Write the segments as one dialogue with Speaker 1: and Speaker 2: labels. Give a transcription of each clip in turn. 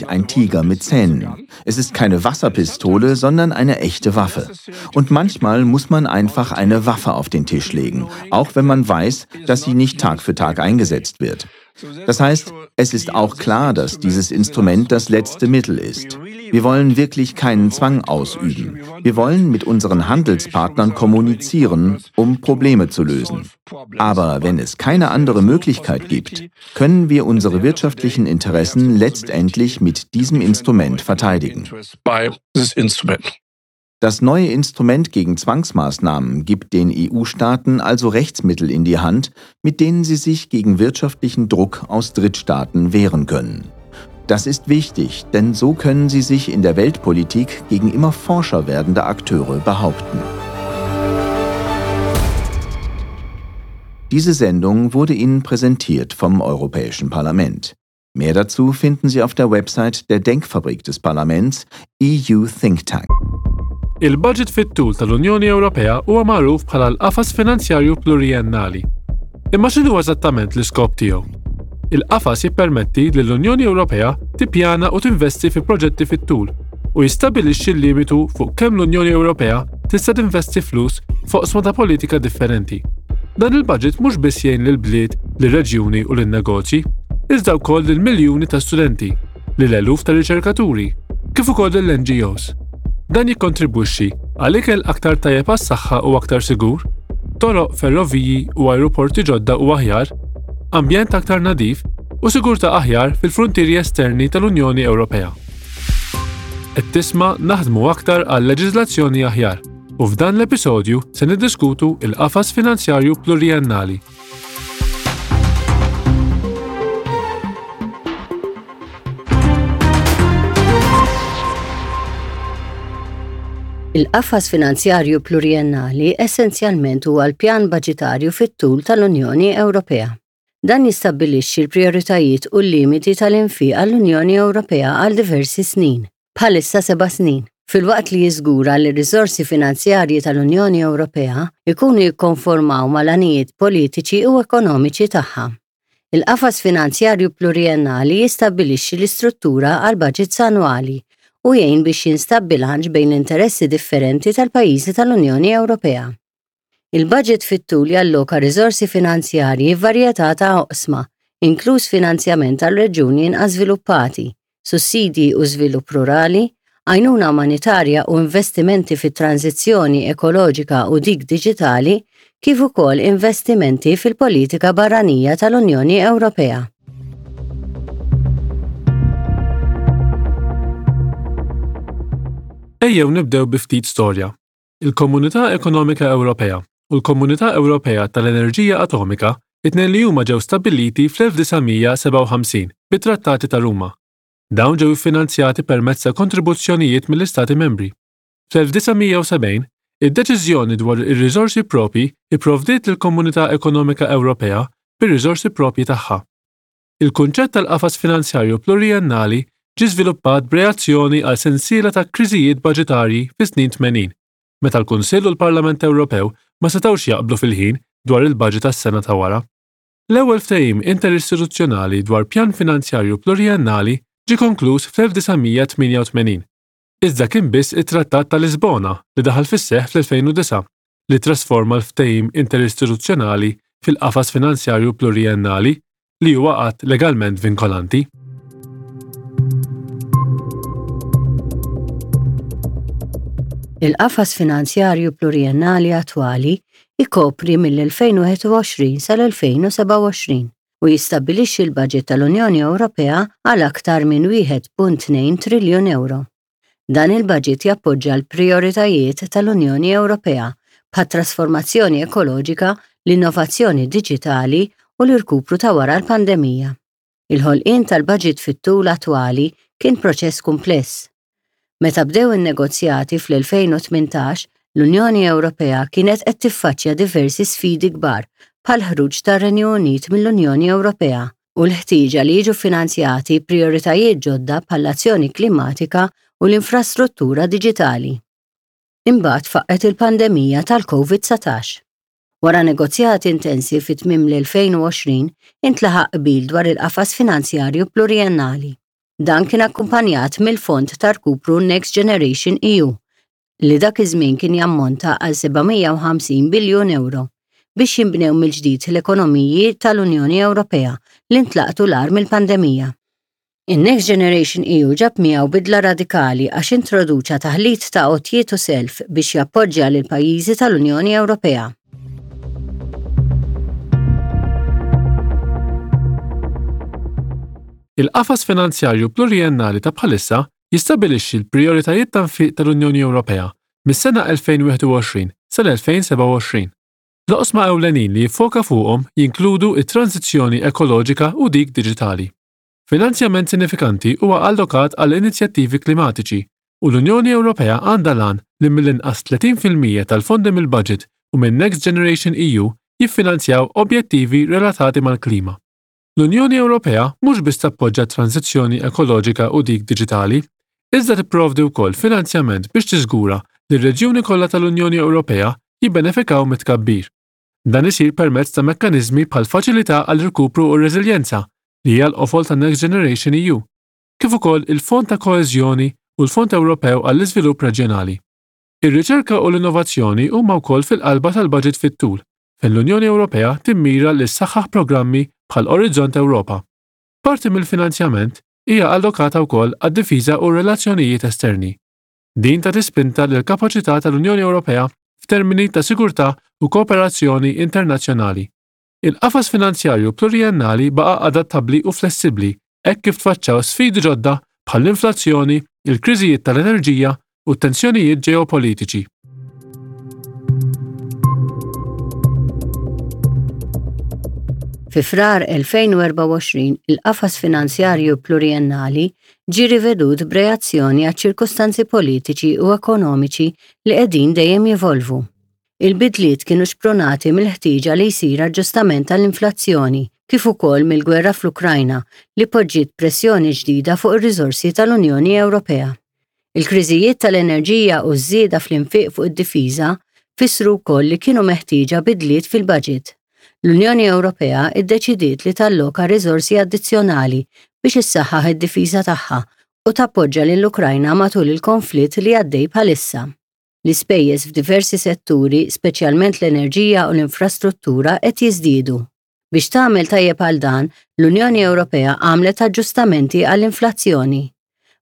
Speaker 1: Ein Tiger mit Zähnen. Es ist keine Wasserpistole, sondern eine echte Waffe. Und manchmal muss man einfach eine Waffe auf den Tisch legen, auch wenn man weiß, dass sie nicht Tag für Tag eingesetzt wird. Das heißt, es ist auch klar, dass dieses Instrument das letzte Mittel ist. Wir wollen wirklich keinen Zwang ausüben. Wir wollen mit unseren Handelspartnern kommunizieren, um Probleme zu lösen. Aber wenn es keine andere Möglichkeit gibt, können wir unsere wirtschaftlichen Interessen letztendlich mit diesem Instrument verteidigen. Das neue Instrument gegen Zwangsmaßnahmen gibt den EU-Staaten also Rechtsmittel in die Hand, mit denen sie sich gegen wirtschaftlichen Druck aus Drittstaaten wehren können. Das ist wichtig, denn so können sie sich in der Weltpolitik gegen immer forscher werdende Akteure behaupten. Diese Sendung wurde Ihnen präsentiert vom Europäischen Parlament. Mehr dazu finden Sie auf der Website der Denkfabrik des Parlaments EU Think Tank.
Speaker 2: Il-baġit fit-tul tal-Unjoni Ewropea huwa magħruf bħala l-Qafas Finanzjarju Pluriennali. Imma x'inhu eżattament l-iskop tiegħu? Il-qafas jippermetti lill-Unjoni Ewropea tippjana u tinvesti fi proġetti fit-tul u jistabbilixxi l-limitu fuq kemm l-Unjoni Ewropea tista' tinvesti flus f'oqsma ta' politika differenti. Dan il-baġit mhux biss jgħin lill-bliet, lir-reġjuni u lin-negozji, iżda wkoll lil miljuni ta' studenti, lil eluf ta' riċerkaturi, kif ukoll lill-NGOs. Dan jikkontribwixxi għal ikel aktar tajjeb għas-saħħa u aktar sigur, toroq, ferroviji u ajruporti ġodda u aħjar, ambjent aktar nadif u sigurtà aħjar fil-fruntieri esterni tal-Unjoni Ewropea. Qed tisma' Naħdmu Aktar għal Leġiżlazzjoni Aħjar u f'dan l-episodju se niddiskutu il-qafas finanzjarju pluriennali.
Speaker 3: Il-qafas finanzjarju pluriennali essenzjalment huwa l-pjan baġitarju fit-tul tal-Unjoni Ewropea. Dan jistabbilixxi l-prijoritajiet u l-limiti tal-infiq għall-Unjoni Ewropea għal diversi snin, bħalissa seba' snin, filwaqt li jiżgura li r-riżorsi finanzjarji tal-Unjoni Ewropea jkunu jikkonformaw mal-għanijiet politiċi u ekonomiċi tagħha. Il-qafas finanzjarju pluriennali jistabbilixxi l-istruttura għall-baġits annwali u jgħin biex jinstab bilanċ bejn l-interessi differenti tal-pajjiżi tal-Unjoni Ewropea. Il-baġit fit-tul jalloka riżorsi finanzjarji f'varjetà ta' oqsma, inkluż finanzjament għal reġjuni inqas żviluppati, sussidji u żvilupp rurali, għajnuna umanitarja u investimenti fit-tranżizzjoni ekoloġika u dik diġitali, kif ukoll investimenti fil-politika barranija tal-Unjoni Ewropea.
Speaker 2: Ejjew nibdew bi ftit storja. Il-Komunità Ekonomika Ewropea u l-Komunità Ewropea tal-Enerġija Atomika it-tnejn li huma ġew stabbiliti fl-1957 bit-Trattati ta' Ruma. Dawn ġew iffinanzjati permezz ta' kontribuzzjonijiet mill-Istati Membri. Fl-1970, id-deċiżjoni dwar ir-riżorsi proprji pprovdiet lill-Komunità Ekonomika Ewropea bir-riżorsi proprji tagħha. Il-kunċett tal-qafas finanzjarju pluriennali ġie żviluppat b'reazzjoni għal sensiela ta' kriżijiet baġitarji fis-snin 80, meta l-Kunsill u l-Parlament Ewropew ma setgħux jaqblu fil-ħin dwar il-baġit għas-sena ta' wara. L-ewwel ftehim interistituzzjonali dwar pjan finanzjarju pluriennali ġie konkluż fl-1988, iżda kien biss it-Trattat ta' Lisbona li daħal fis-seħħ fl-2009 li ttrasforma l-ftehim interistituzzjonali fil-qafas finanzjarju pluriennali li huwa att legalment vinkolanti.
Speaker 3: Il-qafas finanzjarju pluriennali attwali jkopri mill-2021 sal-2027 u jistabbilixxi l-baġit tal-Unjoni Ewropea għal aktar minn 1.2 triljun ewro. Dan il-baġit jappoġġa l-prijoritajiet tal-Unjoni Ewropea bħat-trasformazzjoni ekoloġika, l-innovazzjoni diġitali u l-irkupru ta' wara l-pandemija. Il-ħolqien tal-baġit fit-tul attwali kien proċess kumpless. Meta bdew in-negozjati fl-2018, l-Unjoni Ewropea kienet qed tiffaċċja diversi sfidi kbar bħall-ħruġ tar-Renju Unit mill-Unjoni Ewropea u l-ħtieġa li jiġu ffinanzjati prijoritajiet ġodda bħall-azzjoni klimatika u l-infrastruttura diġitali. Imbagħad faqqgħet il-pandemija tal-Covid-19. Wara negozjati intensi fi tmiem l-2020, intlaħaq qbil dwar il-qafas finanzjarju pluriennali. Dan kien akkumpanjat mill-fond ta' rkupru Next Generation EU, li dak iż-żmien kien jammonta għal 750 biljun ewro, biex jinbnew mill-ġdid l-ekonomiji tal-Unjoni Ewropea li ntlaqtu l-agħar mill-pandemija. In-Next Generation EU ġab miegħu bidla radikali għax introduċa taħlit ta' għotjiet u self biex jappoġġja lill-pajjiżi tal-Unjoni Ewropea.
Speaker 2: Il-qafas finanzjarju pluriennali ta' bħalissa jistabbilixxi l-prijoritajiet ta' nfiq tal-Unjoni Ewropea mis-sena 2021 sal-2027. L-oqsma ewlenin li jiffoka fuqhom jinkludu t-tranżizzjoni ekoloġika u dik diġitali. Finanzjament sinifikanti huwa allokat għal inizjattivi klimatiċi u l-Unjoni Ewropea għandha l-għan li mill-inqas 30% tal-fondi mill-baġit u minn Next Generation EU jiffinanzjaw objettivi relatati mal-klima. L-Unjoni Ewropea mhux biss tappoġġa t-tranżizzjoni ekoloġika u dik diġitali, iżda tipprovdi wkoll finanzjament biex tiżgura li r-reġjuni kollha tal-Unjoni Ewropea jibbenefikaw mit-tkabbir. Dan isir permezz ta' mekkaniżmi bħall-Faċilità għall-Irkupru u r-Reżiljenza, li hija l-qofol ta' Next Generation EU, kif ukoll il-Fond ta' Koeżjoni u l-Fond Ewropew għall-Iżvilupp Reġjonali. Ir-riċerka u l-innovazzjoni huma wkoll fil-qalba tal-baġit fit-tul, fejn l-Unjoni Ewropea timmira li ssaħħaħ programmi bħal Orizzont Ewropa. Parti mill-finanzjament hija allokata wkoll għad-difiża u r-relazzjonijiet esterni. Din tagħti spinta lill-kapaċità tal-Unjoni Ewropea f'termini ta' sigurtà u kooperazzjoni internazzjonali. Il-qafas finanzjarju pluriennali baqa' adattabbli u flessibbli hekk kif tfaċċaw sfidi ġodda bħall-inflazzjoni, il-kriżijiet tal-enerġija u t-tensjonijiet ġeopolitiċi.
Speaker 3: Fi Frar 2024, il-qafas finanzjarju pluriennali ġie rivedut b'reazzjoni għaċ-ċirkustanzi politiċi u ekonomiċi li qegħdin dejjem jevolvu. Il-bidliet kienu xprunati mill-ħtieġa li jsir aġġustament għall-inflazzjoni kif ukoll mill-gwerra fl-Ukrajna li poġġiet pressjoni ġdida fuq ir-riżorsi tal-Unjoni Ewropea. Il-kriżijiet tal-enerġija u ż-żieda fl-infiq fuq id-difiża fissru wkoll li kienu meħtieġa bidliet fil-baġit. L-Unjoni Ewropea ddeċidiet li talloka riżorsi addizzjonali biex issaħħaħ id-difiża tagħha u tappoġġa lill-Ukrajna matul il-konflitt li għaddej bħalissa. L-ispejjeż f'diversi setturi, speċjalment l-enerġija u l-infrastruttura, qed jiżdiedu. Biex tagħmel tajjeb għal dan, l-Unjoni Ewropea għamlet aġġustamenti għall-inflazzjoni.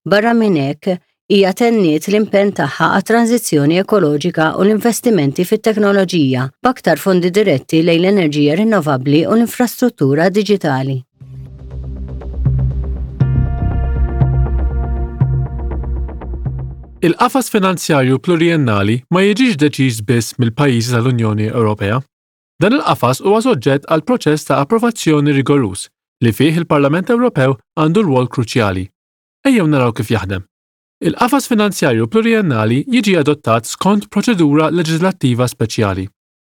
Speaker 3: Barra minn hekk, hija tenniet l-impenn tagħha għat-tranżizzjoni ekoloġika u l-investimenti fit-teknoloġija, b'aktar fondi diretti lejn l-enerġija rinnovabbli u l-infrastruttura diġitali.
Speaker 2: Il-qafas finanzjarju pluriennali ma jiġix deċiż biss mill-pajjiżi tal-Unjoni Ewropea. Dan il-qafas huwa soġġett għal proċess ta' approvazzjoni rigoruż li fih il-Parlament Ewropew għandu rwol kruċjali. Ejjew naraw kif jaħdem. Il-qafas finanzjarju pluriennali jiġi adottat skont proċedura leġiżlattiva speċjali.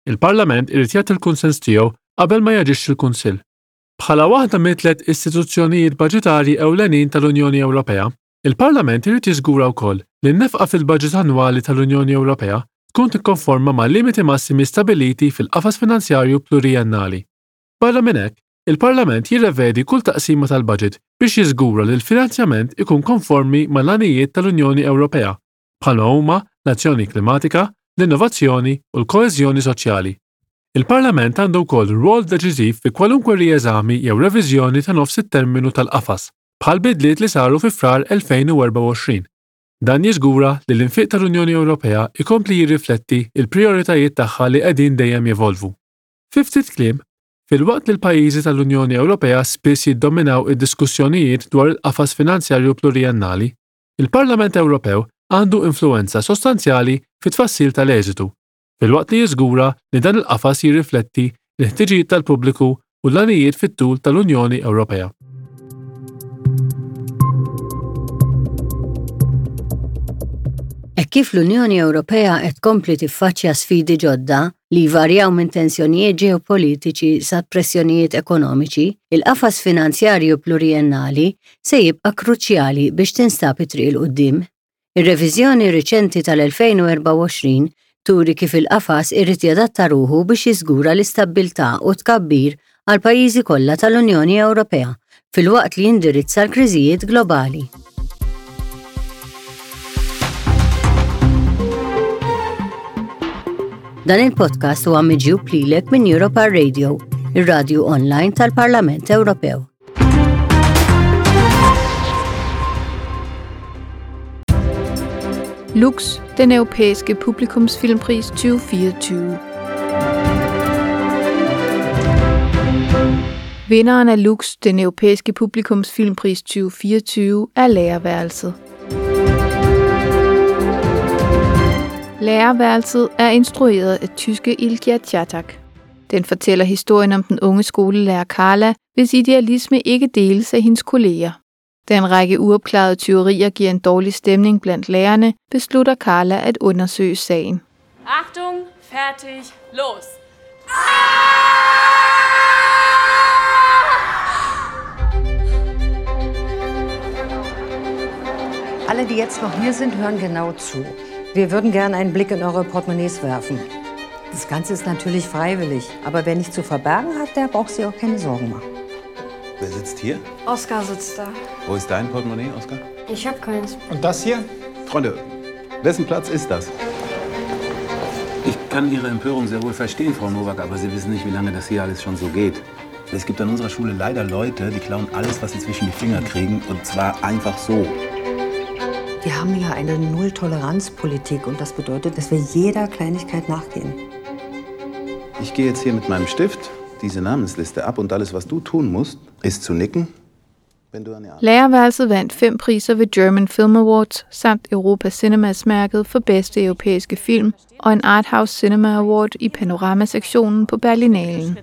Speaker 2: Il-Parlament irid jagħti l-kunsens tiegħu qabel ma jaġixxi l-Kunsill. Bħala waħda mit-tliet istituzzjonijiet baġitarji ewlenin tal-Unjoni Ewropea, Il-Parlament irid jiżgura wkoll li n-nefqa fil-baġit annwali tal-Unjoni Ewropea tkun tikkonforma mal-limiti massimi stabbiliti fil-qafas finanzjarju pluriennali. Barra minn hekk, il-Parlament jirrevedi kull taqsima tal-baġit biex jiżgura li l-finanzjament ikun konformi mal-għanijiet tal-Unjoni Ewropea, bħalma huma l-azzjoni klimatika, l-innovazzjoni u l-koeżjoni soċjali. Il-Parlament għandu wkoll rwol deċiżiv fi kwalunkwe rieżami jew reviżjoni ta' nofs it-terminu tal-qafas. bħall-bidliet li saru fi Frar 2024. Dan jiżgura li l-infiq tal-Unjoni Ewropea jkompli jirrifletti l-prijoritajiet tagħha li qegħdin dejjem jevolvu. Fi ftit kliem, filwaqt li l-pajjiżi tal-Unjoni Ewropea spiss jiddominaw id-diskussjonijiet dwar il-qafas finanzjarju pluriennali, il-Parlament Ewropew għandu influwenza sostanzjali fit-tfassil tal-eżitu, filwaqt li jiżgura li dan il-qafas jirrifletti l-ħtiġijiet tal-pubbliku u l-għanijiet fit-tul tal-Unjoni Ewropea.
Speaker 3: Hekk kif l-Unjoni Ewropea qed tkompli tiffaċċja sfidi ġodda, li jvarjaw minn tensjonijiet ġeopolitiċi sa pressjonijiet ekonomiċi, il-qafas finanzjarju pluriennali se jibqa' kruċjali biex tinstab it-triq 'il quddiem. Ir-reviżjoni riċenti tal-2024 turi kif il-qafas irid jadatta ruħu biex jiżgura l-istabbiltà u t-tkabbir għall-pajjiżi kollha tal-Unjoni Ewropea. filwaqt li jindirizza l-kriżijiet globali. Dan il-podcast huwa miġjub lilek minn Europa Radio, ir-radju online tal-Parlament Ewropew.
Speaker 4: Lux, den europæiske publikumsfilmpris 2024. Vinderen af Lux, den europæiske publikumsfilmpris 2024, er Lærerværelset. Lærerværelset er instrueret af tyske Ilja Çatak. Den fortæller historien om den unge skolelærer Carla, hvis idealisme ikke deles af hendes kolleger. Da en række uopklarede tyverier giver en dårlig stemning blandt lærerne, beslutter Carla at undersøge sagen.
Speaker 5: Achtung, fertig, los!
Speaker 6: Alle, die jetzt noch hier sind, hören genau zu. Wir würden gerne einen Blick in eure Portemonnaies werfen. Das Ganze ist natürlich freiwillig, aber wer nichts zu verbergen hat, der braucht sich auch keine Sorgen machen.
Speaker 7: Wer sitzt hier?
Speaker 8: Oskar sitzt da.
Speaker 7: Wo ist dein Portemonnaie, Oskar?
Speaker 8: Ich hab keins.
Speaker 9: Und das hier?
Speaker 7: Freunde, wessen Platz ist das? Ich kann Ihre Empörung sehr wohl verstehen, Frau Nowak, aber Sie wissen nicht, wie lange das hier alles schon so geht. Es gibt an unserer Schule leider Leute, die klauen alles, was sie zwischen die Finger kriegen, und zwar einfach so.
Speaker 6: Wir haben ja eine Null-Toleranz-Politik und das bedeutet, dass wir jeder Kleinigkeit nachgehen.
Speaker 7: Ich gehe jetzt hier mit meinem Stift diese Namensliste ab und alles, was du tun musst, ist zu nicken, wenn du eine
Speaker 4: Lærerværelset vandt fem priser ved German Film Awards samt Europa Cinemas-mærket for bedste europæiske film og en Arthouse Cinema Award i Panorama-sektionen på Berlinalen.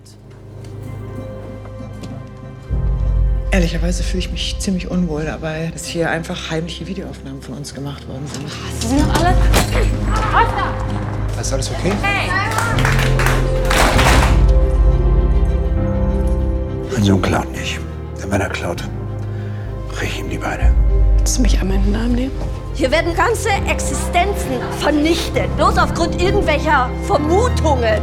Speaker 10: Ehrlicherweise fühle ich mich ziemlich unwohl dabei, dass hier einfach heimliche Videoaufnahmen von uns gemacht worden sind.
Speaker 5: Sie sind doch alle. Oskar!
Speaker 9: Ist alles okay?
Speaker 5: Hey!
Speaker 11: Mein Sohn klaut nicht. Denn wenn er klaut, brech ich ihm die Beine.
Speaker 8: Willst du mich einmal in den Arm nehmen?
Speaker 12: Hier werden ganze Existenzen vernichtet, bloß aufgrund irgendwelcher Vermutungen.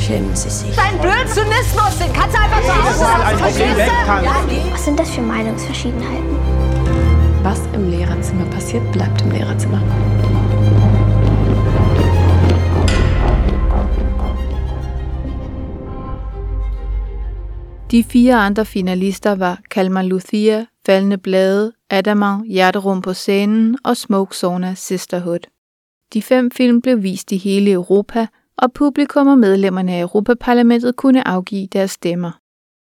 Speaker 8: Schämen Sie sich.
Speaker 12: Dein blöden Zynismus, den kannst du einfach zu Hause lassen, verstehst du?
Speaker 13: Was sind das für Meinungsverschiedenheiten?
Speaker 8: Was im Lehrerzimmer passiert, bleibt im Lehrerzimmer.
Speaker 4: De fire andre finalister var Kalmar Luthia, Faldende Blade, Adamant, Hjerterum på scenen og Smoke Sauna Sisterhood. De fem film blev vist i hele Europa, og publikum og medlemmerne af Europaparlamentet kunne afgive deres stemmer.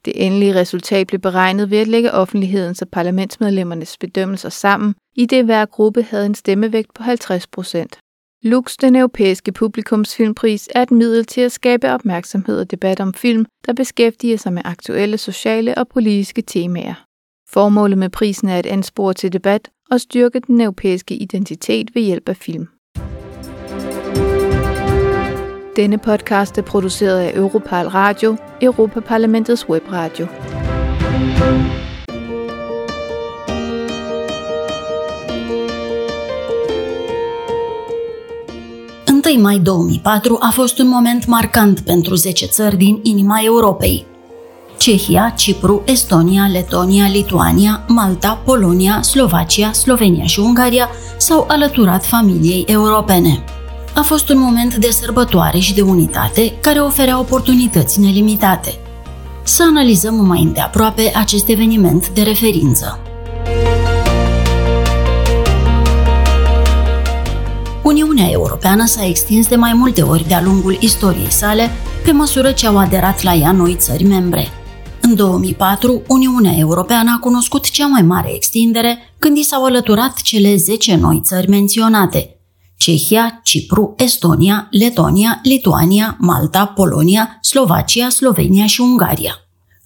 Speaker 4: Det endelige resultat blev beregnet ved at lægge offentlighedens og parlamentsmedlemmernes bedømmelser sammen, i det hver gruppe havde en stemmevægt på 50 procent. Lux, den europæiske publikumsfilmpris, er et middel til at skabe opmærksomhed og debat om film, der beskæftiger sig med aktuelle sociale og politiske temaer. Formålet med prisen er at anspore til debat og styrke den europæiske identitet ved hjælp af film. Denne podcast er produceret af Europal Radio, Europaparlamentets webradio.
Speaker 14: 1 mai 2004 a fost un moment marcant pentru 10 țări din inima Europei. Cehia, Cipru, Estonia, Letonia, Lituania, Malta, Polonia, Slovacia, Slovenia și Ungaria s-au alăturat familiei europene. A fost un moment de sărbătoare și de unitate care oferea oportunități nelimitate. Să analizăm mai îndeaproape acest eveniment de referință. Uniunea Europeană s-a extins de mai multe ori de-a lungul istoriei sale, pe măsură ce au aderat la ea noi țări membre. În 2004, Uniunea Europeană a cunoscut cea mai mare extindere când i s-au alăturat cele 10 noi țări menționate: Cehia, Cipru, Estonia, Letonia, Lituania, Malta, Polonia, Slovacia, Slovenia și Ungaria.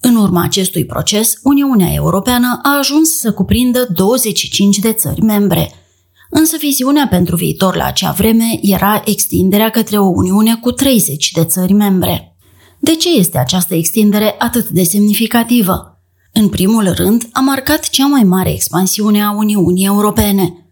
Speaker 14: În urma acestui proces, Uniunea Europeană a ajuns să cuprindă 25 de țări membre. Însă viziunea pentru viitor la acea vreme era extinderea către o Uniune cu 30 de țări membre. De ce este această extindere atât de semnificativă? În primul rând, a marcat cea mai mare expansiune a Uniunii Europene.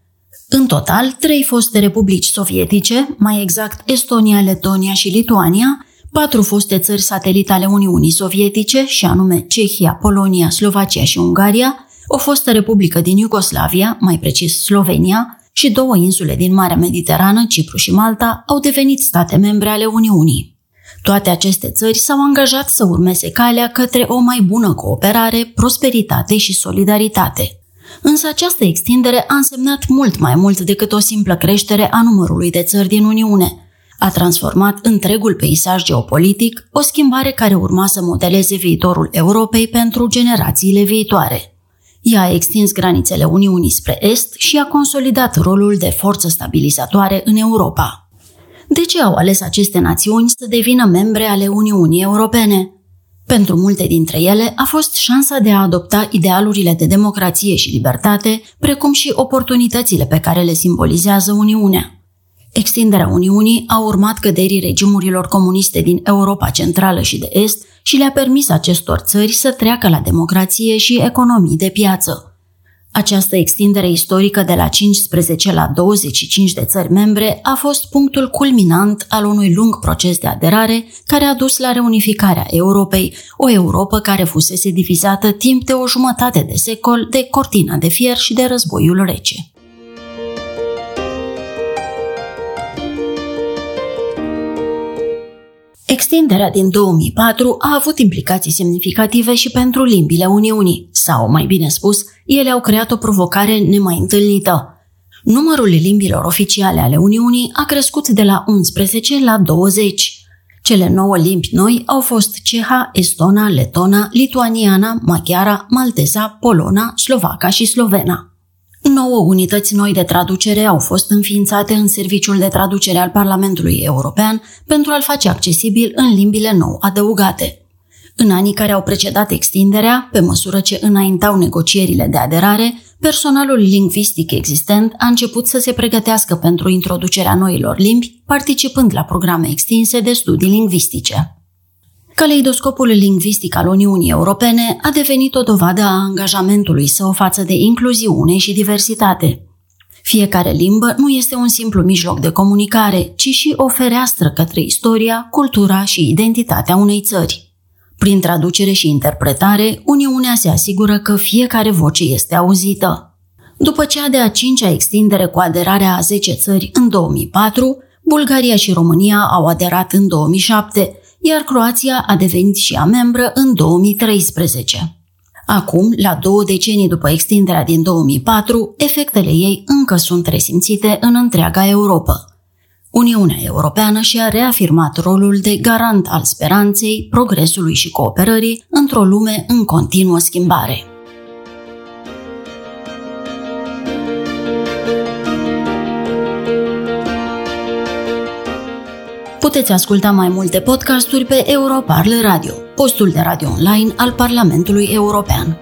Speaker 14: În total, trei foste republici sovietice, mai exact Estonia, Letonia și Lituania, Patru foste țări satelite ale Uniunii Sovietice, și anume Cehia, Polonia, Slovacia și Ungaria, o fostă republică din Iugoslavia, mai precis Slovenia, și două insule din Marea Mediterană, Cipru și Malta, au devenit state membre ale Uniunii. Toate aceste țări s-au angajat să urmeze calea către o mai bună cooperare, prosperitate și solidaritate. Însă această extindere a însemnat mult mai mult decât o simplă creștere a numărului de țări din Uniune. A transformat întregul peisaj geopolitic, o schimbare care urma să modeleze viitorul Europei pentru generațiile viitoare. Ea a extins granițele Uniunii spre est și a consolidat rolul de forță stabilizatoare în Europa. De ce au ales aceste națiuni să devină membre ale Uniunii Europene? Pentru multe dintre ele a fost șansa de a adopta idealurile de democrație și libertate, precum și oportunitățile pe care le simbolizează Uniunea. Extinderea Uniunii a urmat căderii regimurilor comuniste din Europa Centrală și de Est și le-a permis acestor țări să treacă la democrație și economii de piață. Această extindere istorică de la 15 la 25 de țări membre a fost punctul culminant al unui lung proces de aderare care a dus la reunificarea Europei, o Europă care fusese divizată timp de o jumătate de secol de cortina de fier și de războiul rece. Extinderea din 2004 a avut implicații semnificative și pentru limbile Uniunii, sau, mai bine spus, ele au creat o provocare nemai întâlnită. Numărul limbilor oficiale ale Uniunii a crescut de la 11 la 20. Cele 9 limbi noi au fost ceha, estona, letona, lituaniana, maghiara, malteza, polona, slovaca și slovena. 9 unități noi de traducere au fost înființate în Serviciul de Traducere al Parlamentului European pentru a-l face accesibil în limbile nou adăugate. În anii care au precedat extinderea, pe măsură ce înaintau negocierile de aderare, personalul lingvistic existent a început să se pregătească pentru introducerea noilor limbi, participând la programe extinse de studii lingvistice. Caleidoscopul lingvistic al Uniunii Europene a devenit o dovadă a angajamentului său față de incluziune și diversitate. Fiecare limbă nu este un simplu mijloc de comunicare, ci și o fereastră către istoria, cultura și identitatea unei țări. Prin traducere și interpretare, Uniunea se asigură că fiecare voce este auzită. După cea de-a cincea extindere cu aderarea a 10 țări în 2004, Bulgaria și România au aderat în 2007, iar Croația a devenit și ea membră în 2013. Acum, la 2 decenii după extinderea din 2004, efectele ei încă sunt resimțite în întreaga Europa. Uniunea Europeană și-a reafirmat rolul de garant al speranței, progresului și cooperării într-o lume în continuă schimbare. Puteți asculta mai multe podcasturi pe Europarl Radio, postul de radio online al Parlamentului European.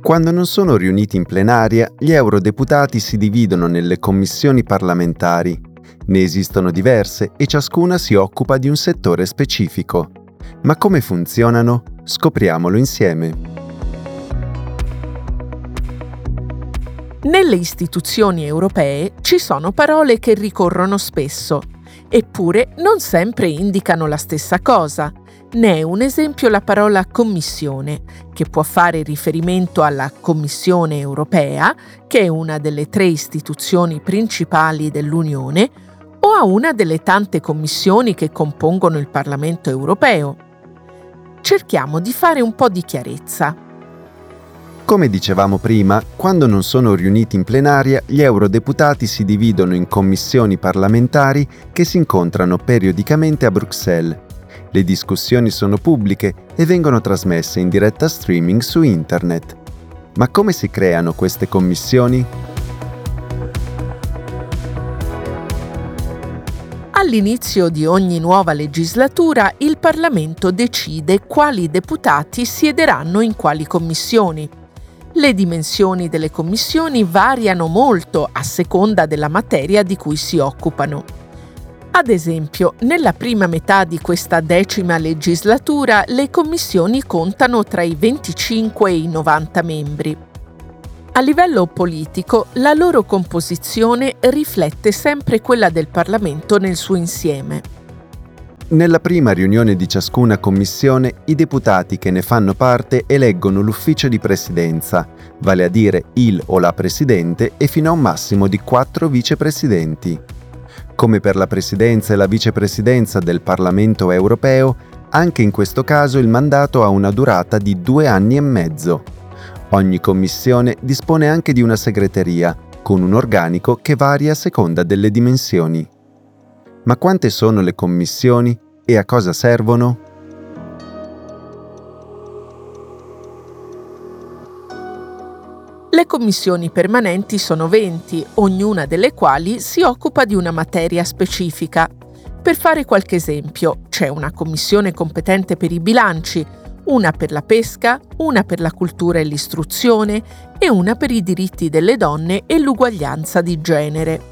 Speaker 9: Quando non sono riuniti in plenaria, gli eurodeputati si dividono nelle commissioni parlamentari. Ne esistono diverse e ciascuna si occupa di un settore specifico. Ma come funzionano? Scopriamolo insieme.
Speaker 15: Nelle istituzioni europee ci sono parole che ricorrono spesso, eppure non sempre indicano la stessa cosa. Ne è un esempio la parola commissione, che può fare riferimento alla Commissione europea, che è una delle 3 istituzioni principali dell'Unione, o a una delle tante commissioni che compongono il Parlamento europeo. Cerchiamo di fare un po' di chiarezza.
Speaker 9: Come dicevamo prima, quando non sono riuniti in plenaria, gli eurodeputati si dividono in commissioni parlamentari che si incontrano periodicamente a Bruxelles. Le discussioni sono pubbliche e vengono trasmesse in diretta streaming su internet. Ma come si creano queste commissioni?
Speaker 15: All'inizio di ogni nuova legislatura, il Parlamento decide quali deputati siederanno in quali commissioni. Le dimensioni delle commissioni variano molto a seconda della materia di cui si occupano. Ad esempio, nella prima metà di questa 10ª legislatura, le commissioni contano tra i 25 e i 90 membri. A livello politico, la loro composizione riflette sempre quella del Parlamento nel suo insieme.
Speaker 9: Nella prima riunione di ciascuna commissione, i deputati che ne fanno parte eleggono l'ufficio di presidenza, vale a dire il o la presidente e fino a un massimo di quattro vicepresidenti. Come per la presidenza e la vicepresidenza del Parlamento europeo, anche in questo caso il mandato ha una durata di due anni e mezzo. Ogni commissione dispone anche di una segreteria, con un organico che varia a seconda delle dimensioni. Ma quante sono le commissioni e a cosa servono?
Speaker 15: Le commissioni permanenti sono 20, ognuna delle quali si occupa di una materia specifica. Per fare qualche esempio, c'è una commissione competente per i bilanci, una per la pesca, una per la cultura e l'istruzione e una per i diritti delle donne e l'uguaglianza di genere.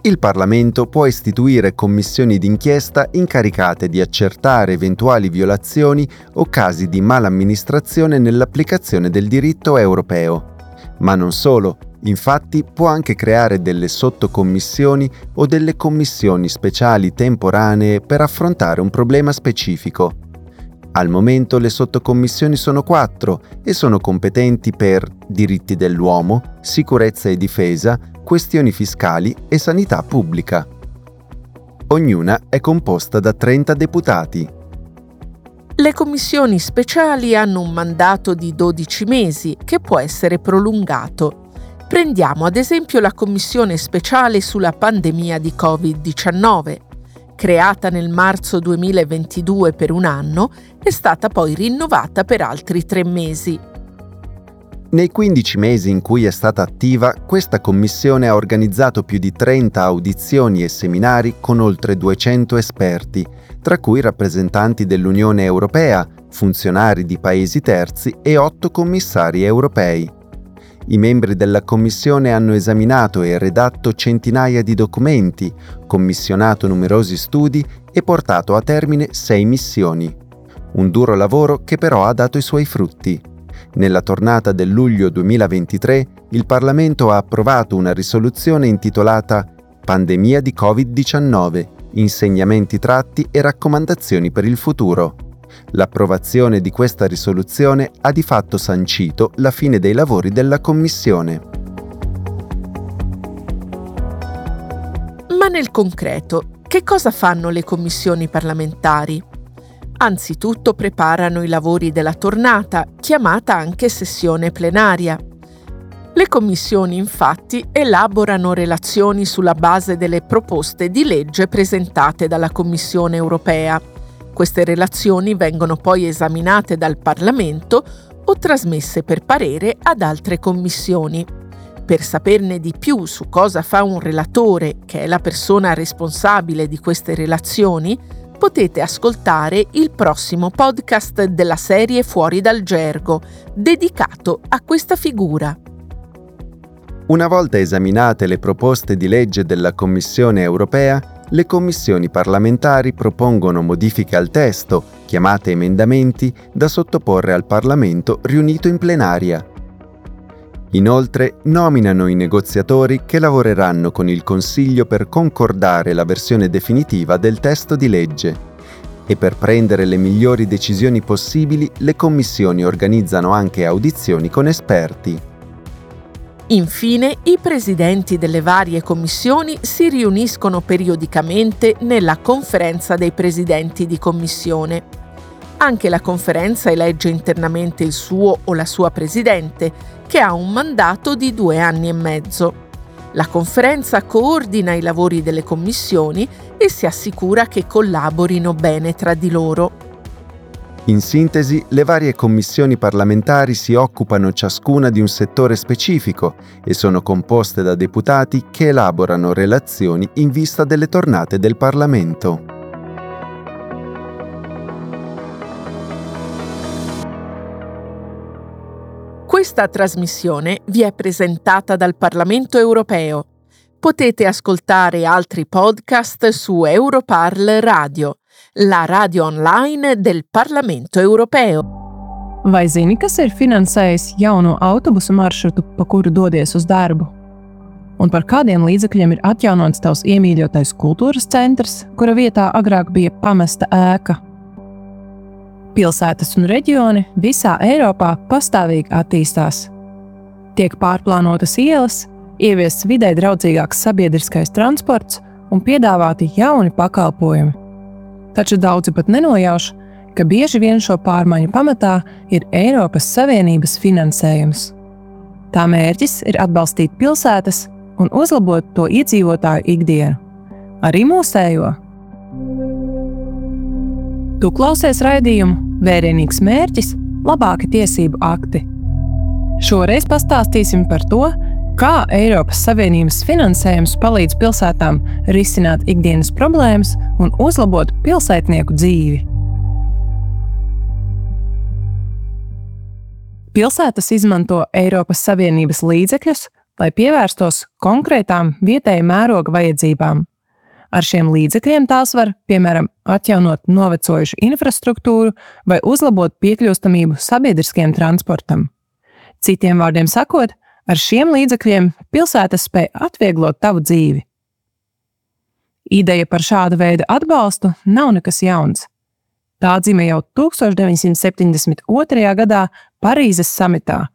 Speaker 9: Il Parlamento può istituire commissioni d'inchiesta incaricate di accertare eventuali violazioni o casi di malamministrazione nell'applicazione del diritto europeo. Ma non solo, infatti può anche creare delle sottocommissioni o delle commissioni speciali temporanee per affrontare un problema specifico. Al momento le sottocommissioni sono quattro e sono competenti per diritti dell'uomo, sicurezza e difesa, questioni fiscali e sanità pubblica. Ognuna è composta da 30 deputati.
Speaker 15: Le commissioni speciali hanno un mandato di 12 mesi che può essere prolungato. Prendiamo ad esempio la commissione speciale sulla pandemia di Covid-19 creata nel marzo 2022 per un anno, è stata poi rinnovata per altri tre mesi.
Speaker 9: Nei 15 mesi in cui è stata attiva, questa commissione ha organizzato più di 30 audizioni e seminari con oltre 200 esperti, tra cui rappresentanti dell'Unione Europea, funzionari di paesi terzi e 8 commissari europei. I membri della Commissione hanno esaminato e redatto centinaia di documenti, commissionato numerosi studi e portato a termine sei missioni. Un duro lavoro che però ha dato i suoi frutti. Nella tornata del luglio 2023 il Parlamento ha approvato una risoluzione intitolata Pandemia di Covid-19, insegnamenti tratti e raccomandazioni per il futuro. L'approvazione di questa risoluzione ha di fatto sancito la fine dei lavori della Commissione.
Speaker 15: Ma nel concreto, che cosa fanno le commissioni parlamentari? Anzitutto preparano i lavori della tornata, chiamata anche sessione plenaria. Le commissioni infatti elaborano relazioni sulla base delle proposte di legge presentate dalla Commissione europea. Queste relazioni vengono poi esaminate dal Parlamento o trasmesse per parere ad altre commissioni. Per saperne di più su cosa fa un relatore, che è la persona responsabile di queste relazioni, potete ascoltare il prossimo podcast della serie Fuori dal Gergo, dedicato a questa figura.
Speaker 9: Una volta esaminate le proposte di legge della Commissione europea, le commissioni parlamentari propongono modifiche al testo, chiamate emendamenti, da sottoporre al Parlamento riunito in plenaria. Inoltre nominano i negoziatori che lavoreranno con il Consiglio per concordare la versione definitiva del testo di legge. E per prendere le migliori decisioni possibili, le commissioni organizzano anche audizioni con esperti.
Speaker 15: Infine, i presidenti delle varie commissioni si riuniscono periodicamente nella conferenza dei presidenti di commissione. Anche la conferenza elegge internamente il suo o la sua presidente, che ha un mandato di due anni e mezzo. La conferenza coordina i lavori delle commissioni e si assicura che collaborino bene tra di loro.
Speaker 9: In sintesi, le varie commissioni parlamentari si occupano ciascuna di un settore specifico e sono composte da deputati che elaborano relazioni in vista delle tornate del Parlamento.
Speaker 15: Questa trasmissione vi è presentata dal Parlamento europeo. Potete ascoltare altri podcast su Europarl Radio, la radio online del Parlamento europeo.
Speaker 16: Vai zini, kas ir finansējis jauno autobusu maršrutu, pa kuru dodies uz darbu? Un par kādiem līdzekļiem ir atjaunots tavs iemīļotais kultūras centrs, kura vietā agrāk bija pamesta ēka? Pilsētas un reģioni visā Eiropā pastāvīgi attīstās. Tiek pārplānotas ielas, ieviests videi draudzīgāks sabiedriskais transports un piedāvāti jauni pakalpojumi. Taču daudzi pat nenojauš, ka bieži vien šo pārmaiņu pamatā ir Eiropas Savienības finansējums. Tā mērķis ir atbalstīt pilsētas un uzlabot to iedzīvotāju ikdienu, arī mūsējo. Tu klausies raidījumu Vērienīgs mērķis – labāki tiesību akti. Šoreiz pastāstīsim par to, kā Eiropas Savienības finansējums palīdz pilsētām risināt ikdienas problēmas un uzlabot pilsētnieku dzīvi. Pilsētas izmanto Eiropas Savienības līdzekļus, lai pievērstos konkrētām vietēja mēroga vajadzībām. Ar šiem līdzekļiem tās var, piemēram, atjaunot novecojušu infrastruktūru vai uzlabot piekļūstamību sabiedriskiem transportam. Citiem vārdiem sakot, ar šiem līdzekļiem pilsētas spēj atvieglot tavu dzīvi. Ideja par šāda veida atbalstu nav nekas jauns. Tā dzima jau 1972. gadā Parīzes samitā,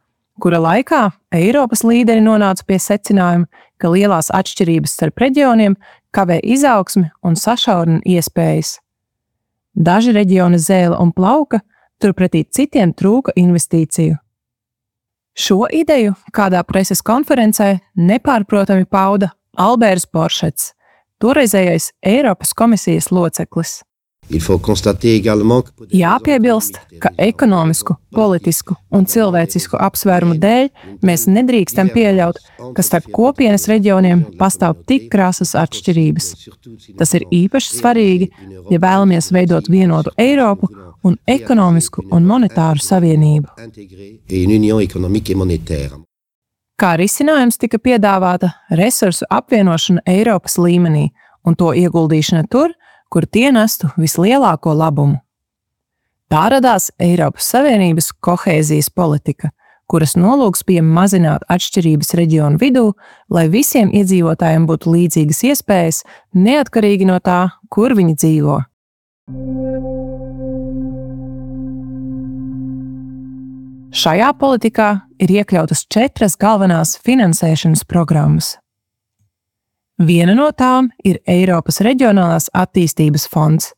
Speaker 16: kura laikā Eiropas līderi nonāca pie secinājuma, ka lielās atšķirības starp reģioniem kavē izaugsmi un sašaurina iespējas. Daži reģioni zēla un plauka, turpretī citiem trūka investīciju. Šo ideju kādā preses konferencē nepārprotami pauda Alberts Boršets, toreizējais Eiropas komisijas loceklis. Jāpiebilst, ka ekonomisku, politisku un cilvēcisku apsvērumu dēļ mēs nedrīkstam pieļaut, ka starp kopienas reģioniem pastāv tik krasas atšķirības. Tas ir īpaši svarīgi, ja vēlamies veidot vienotu Eiropu un ekonomisku un monetāru savienību. Kā risinājums tika piedāvāta resursu apvienošana Eiropas līmenī un to ieguldīšana tur, kur tie nestu vislielāko labumu. Tā radās Eiropas Savienības kohēzijas politika, kuras nolūks bija mazināt atšķirības reģionu vidū, lai visiem iedzīvotājiem būtu līdzīgas iespējas, neatkarīgi no tā, kur viņi dzīvo. Šajā politikā ir iekļautas četras galvenās finansēšanas programmas. Viena no tām ir Eiropas Reģionālās attīstības fonds.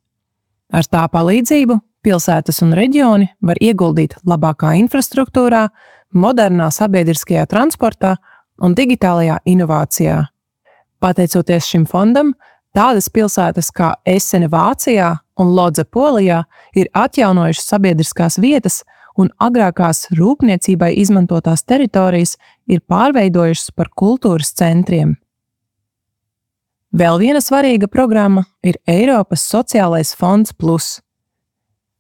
Speaker 16: Ar tā palīdzību pilsētas un reģioni var ieguldīt labākā infrastruktūrā, modernā sabiedriskajā transportā un digitālajā inovācijā. Pateicoties šim fondam, tādas pilsētas kā Esene Vācijā un Lodza Polijā ir atjaunojušas sabiedriskās vietas un agrākās rūpniecībai izmantotās teritorijas ir pārveidojušas par kultūras centriem. Vēl viena svarīga programma ir Eiropas Sociālais fonds Plus.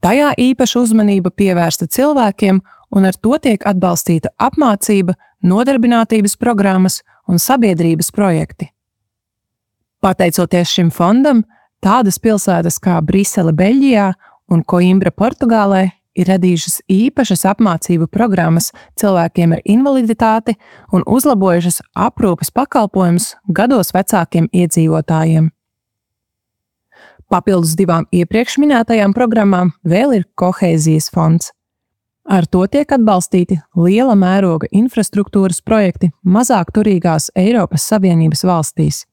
Speaker 16: Tajā īpaša uzmanība pievērsta cilvēkiem, un ar to tiek atbalstīta apmācība, nodarbinātības programmas un sabiedrības projekti. Pateicoties šim fondam, tādas pilsētas kā Brisele Beļģijā un Coimbra Portugālē ir radījušas īpašas apmācību programmas cilvēkiem ar invaliditāti un uzlabojušas aprūpes pakalpojumus gados vecākiem iedzīvotājiem. Papildus divām iepriekš minētajām programmām vēl ir kohēzijas fonds. Ar to tiek atbalstīti liela mēroga infrastruktūras projekti mazāk turīgās Eiropas Savienības valstīs.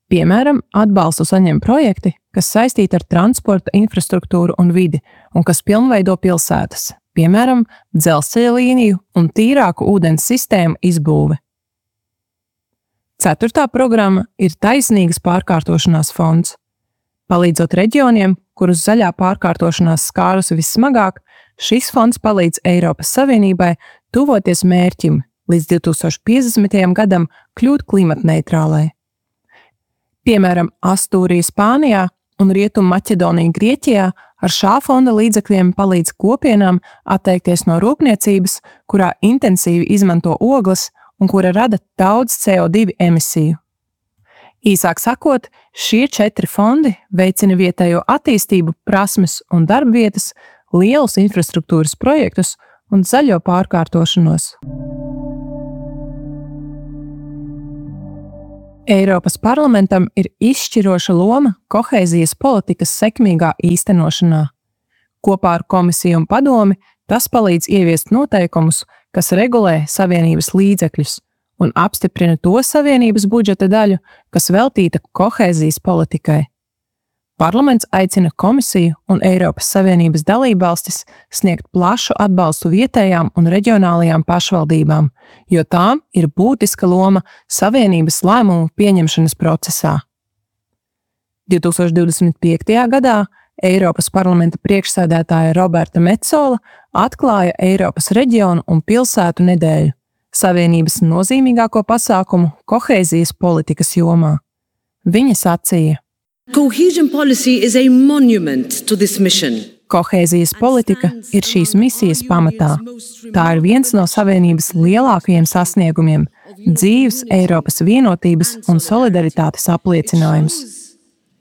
Speaker 16: Piemēram, atbalstu saņem projekti, kas saistīti ar transporta infrastruktūru un vidi un kas pilnveido pilsētas, piemēram, dzelzceļa līniju un tīrāku ūdens sistēmu izbūve. Ceturtā programma ir Taisnīgas pārkārtošanās fonds. Palīdzot reģioniem, kurus zaļā pārkārtošanās skārusi vissmagāk, šis fonds palīdz Eiropas Savienībai tuvoties mērķim līdz 2050. gadam kļūt klimatneitrālai. Piemēram, Astūrija Spānijā un Rietumu Maķedonija Grieķijā ar šā fonda līdzekļiem palīdz kopienām atteikties no rūpniecības, kurā intensīvi izmanto ogles un kura rada daudz CO2 emisiju. Īsāk sakot, šie četri fondi veicina vietējo attīstību, prasmes un darbvietas, lielus infrastruktūras projektus un zaļo pārkārtošanos. Eiropas parlamentam ir izšķiroša loma kohēzijas politikas sekmīgā īstenošanā. Kopā ar komisiju un padomi tas palīdz ieviest noteikumus, kas regulē Savienības līdzekļus un apstiprina to Savienības budžeta daļu, kas veltīta kohēzijas politikai. Parlaments aicina komisiju un Eiropas Savienības dalībvalstis sniegt plašu atbalstu vietējām un reģionālajām pašvaldībām, jo tām ir būtiska loma Savienības lēmumu pieņemšanas procesā. 2025. gadā Eiropas parlamenta priekšsēdētāja Roberta Metsola atklāja Eiropas reģionu un pilsētu nedēļu, Savienības nozīmīgāko pasākumu kohēzijas politikas jomā. Viņa sacīja:
Speaker 17: Cohesion policy is a monument to this mission.
Speaker 16: Kohēzijas politika ir šīs misijas pamatā. Tā ir viens no Savienības lielākajiem sasniegumiem, dzīves Eiropas vienotības un solidaritātes apliecinājums.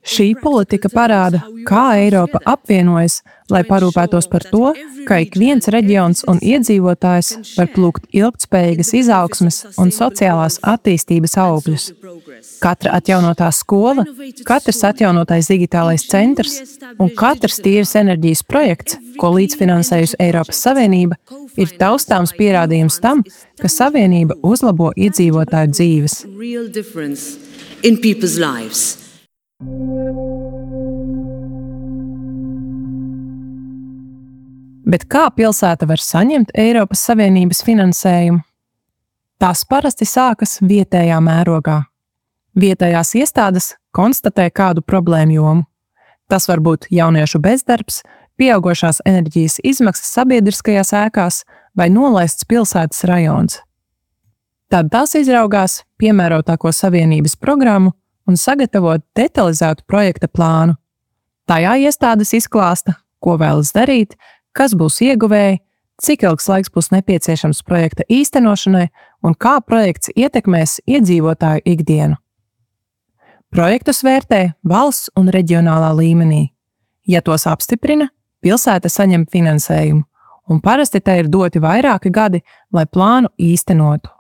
Speaker 16: Šī politika parāda, kā Eiropa apvienojas, lai parūpētos par to, ka ik viens reģions un iedzīvotājs var plūkt ilgtspējīgas izaugsmes un sociālās attīstības augļus. Katra atjaunotā skola, katrs atjaunotais digitālais centrs un katrs tīras enerģijas projekts, ko līdzfinansējusi Eiropas Savienība, ir taustāms pierādījums tam, ka Savienība uzlabo iedzīvotāju dzīves.
Speaker 17: Real difference in people's lives.
Speaker 16: Bet kā pilsēta var saņemt Eiropas Savienības finansējumu? Tas parasti sākas vietējā mērogā. Vietējās iestādes konstatē kādu problēmu jomu. Tas var būt jauniešu bezdarbs, pieaugušās enerģijas izmaksas sabiedriskajās ēkās vai nolaists pilsētas rajons. Tad tās izraugās piemērotāko Savienības programmu un sagatavo detalizētu projekta plānu. Tajā iestādes izklāsta, ko vēlas darīt, kas būs ieguvēji, cik ilgs laiks būs nepieciešams projekta īstenošanai un kā projekts ietekmēs iedzīvotāju ikdienu. Projektus vērtē valsts un reģionālā līmenī. Ja tos apstiprina, pilsēta saņem finansējumu, un parasti tai ir doti vairāki gadi, lai plānu īstenotu.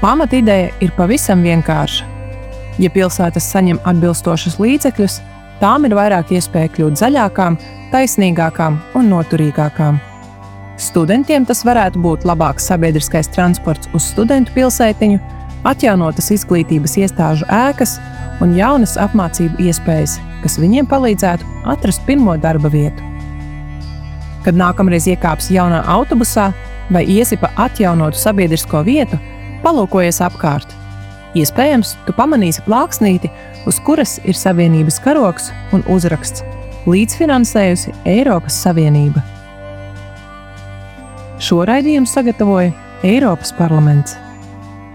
Speaker 16: Pamatideja ir pavisam vienkārša. Ja pilsētas saņem atbilstošus līdzekļus, tām ir vairāk iespēja kļūt zaļākām, taisnīgākām un noturīgākām. Studentiem tas varētu būt labāks sabiedriskais transports uz studentu pilsētiņu, atjaunotas izglītības iestāžu ēkas un jaunas apmācību iespējas, kas viņiem palīdzētu atrast pirmo darba vietu. Kad nākamreiz iekāpsi jaunā autobusā vai iesi pa atjaunotu sabiedrisko vietu, palūkojies apkārt. Iespējams, tu pamanīsi plāksnīti, uz kuras ir Savienības karogs un uzraksts Līdzfinansējusi Eiropas Savienība. Šo raidījumu sagatavoja Eiropas Parlaments.